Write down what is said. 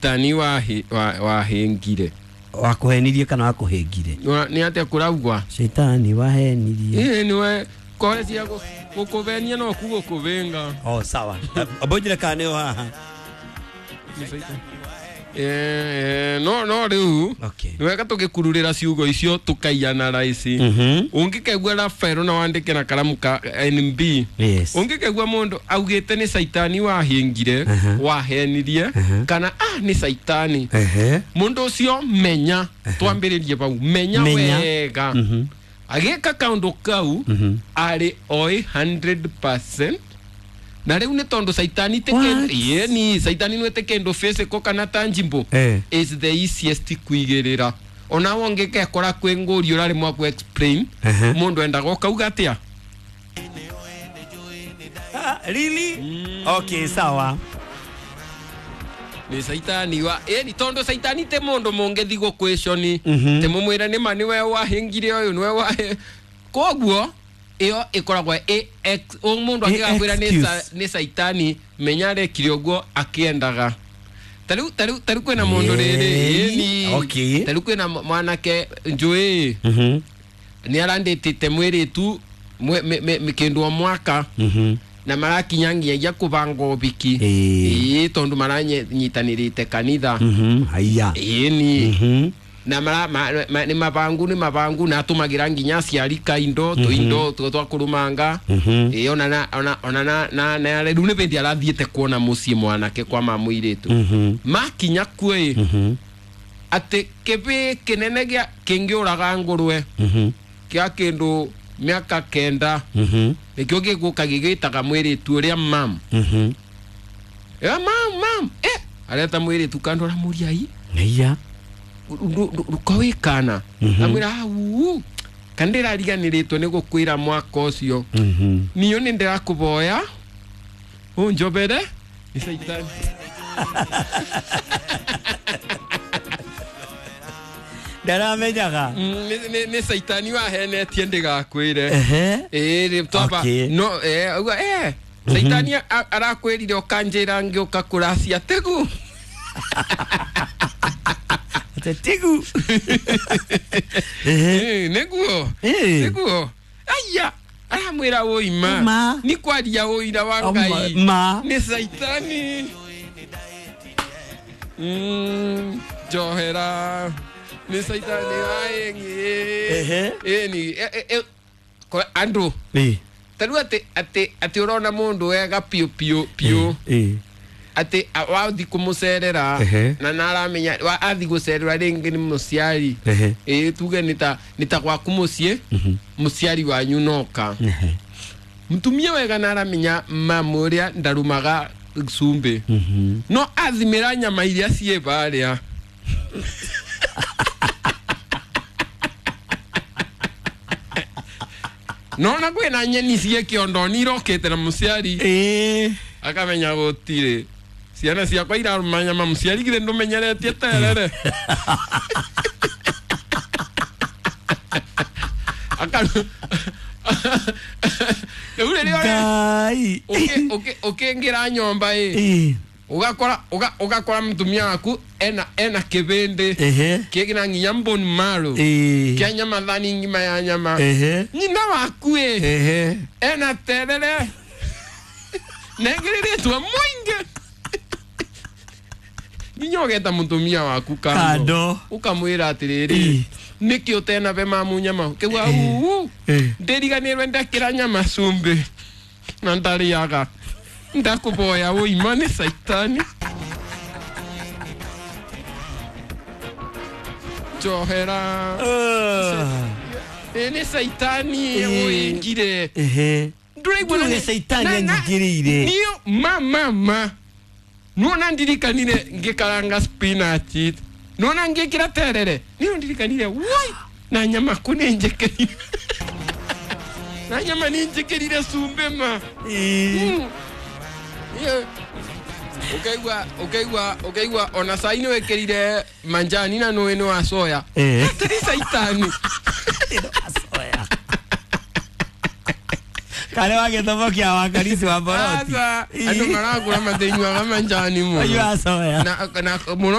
Tani wahĩngire. Wakuhenirie kana wakuhĩngire? Nĩ atĩa kũraugwa? Shaitani wahenirie. Ĩĩ nĩwe kore cia gũkũvenia no ku gũkũvĩnga. Oh, sawa. Obonjire kana nĩyo haha. No rĩu Okay. nĩ wega tũgĩkururĩra ciugo icio tũkaiyana raici. Ũngĩkaigua Rafael na wandĩke na karamu ka NB. Yes. Ũngĩkaigua mũndũ augĩte nĩ caitani wahĩngire, wahenirie, kana nĩ caitani. Mũndũ ũcio menya, twambĩrĩrie bau, menya wega. Agĩka kaũndũ kau arĩ oĩ 100%. Na rĩu nĩ tondũ caitani te kĩndũ, yeni caitani nĩ te kĩndũ physical kana tangible. Is the easiest kuigĩrĩra. Ona wongĩkekora kwĩ ngũri ũraremwo ku explain, mũndũ endaga ũkauga atĩa? Really? Okay, sawa. Nĩ caitani wa ĩni tondũ caitani te mũndũ mũngĩthi gũkwĩconi. Te mũmwĩre nĩ ma nĩwe wahĩngire ũyũ nĩwe wahe. Koguo ĩyo ĩkoragwo ĩ mũndũ angĩgakwĩra nĩ caitani menya arekire ũguo akĩendaga. Tarĩu kwĩna mũndũ rĩrĩ, ĩni. Okay. Tarĩu kwĩna mwanake njũĩ. Nĩ arandĩtĩte mwĩrĩtu kĩndũ o mwaka. Na marakinya nginyagia kũbanga ũbiki. Ĩĩ tondũ maranyitanĩrĩte kanitha. Haiya. Ĩni. Na nĩ mabangu nĩ mabangu na atũmagĩra nginya aciari kaindo tũindo twa kũrũmanga. Ĩĩ ona na rĩu nĩ bĩndĩ arathiĩte kuona mũciĩ mwanake kwa mamũirĩtu. Makinya kuo ĩ atĩ kĩbĩ kĩnene gĩa kĩngĩũraga ngũrwe kĩa kĩndũ mĩaka 9 nĩkĩo gĩgũka gĩgĩtaga mwĩrĩtu ũrĩa mam. Mam areta mwĩrĩtu kando aramũria i. Haiya. Rukawikana amwira au kandira riganiritwo ni gukwira mwaka ucio niyo ni ndirakuboya unjobere ni caitani. Ndaramenyaga ni caitani wahenetie ndigakwire. Ĩĩ twamba no uga caitani arakwirire ukanjira ngiuka kuracia tegu. Tigu. Neguo. Neguo. Aya, aramwira ũima. Ni kwaria ũira wa Ngai. Nĩ caitani. Njohera. Nĩ caitani waĩngĩ. Ĩni andũ. Tarĩu atĩ ũrona mũndũ wega piũ piũ piũ. Ati wathi kumucerera na naramenya athi gucerera ringi ni muciari tuge ni ta gwaku muciĩ muciari wanyu noka mutumia wega naramenya mamu uria ndarumaga cumbĩ no athimĩra nyama iria ciĩ barĩa. Nona kwĩna nyeni ciĩ kĩondo nirokĩte na muciari akamenya gũtirĩ ciana ciakwa irarũma nyama mũciari githĩ ndũmenyeretie terere. Rĩu rĩrĩa ũkĩingĩra nyũmba ĩ ũgakora mũtumia waku ena kĩbĩndĩ kĩna nginya bone marrow kĩa nyama thani ng'ima ya nyama nyina waku ĩ ena terere nengĩrĩrĩtwo mũingĩ nginya ũgeta mũtumia waku kando ũkamwĩra atĩrĩrĩ nĩkĩ ũtena be mamu nyama kĩgua uu ndĩriganĩrwe ndekĩra nyama cumbĩ na ndarĩaga ndakũboya ũima nĩ caitani. Njohera. Nĩ caitani ũingire. Ndũraigua nĩ caitani anyingĩrĩire. Niyo ma nuona ndirikanire ngĩkaranga spinach nuona ngĩkĩra terere niyo ndirikanire woi na nyama ku nĩ njĩkĩrire na nyama nĩ njĩkĩrire cumbĩ ma. Ukaigua ona cai nĩ wĩkĩrire manjani na nũĩ nĩ wa soya. Atĩ nĩ caitani. Kare wa gĩthomo kĩa wakarisi wa boroti. Aca, andũ marakũra matinyuaga manjani mũno. Manyuaga soya. Na mũno.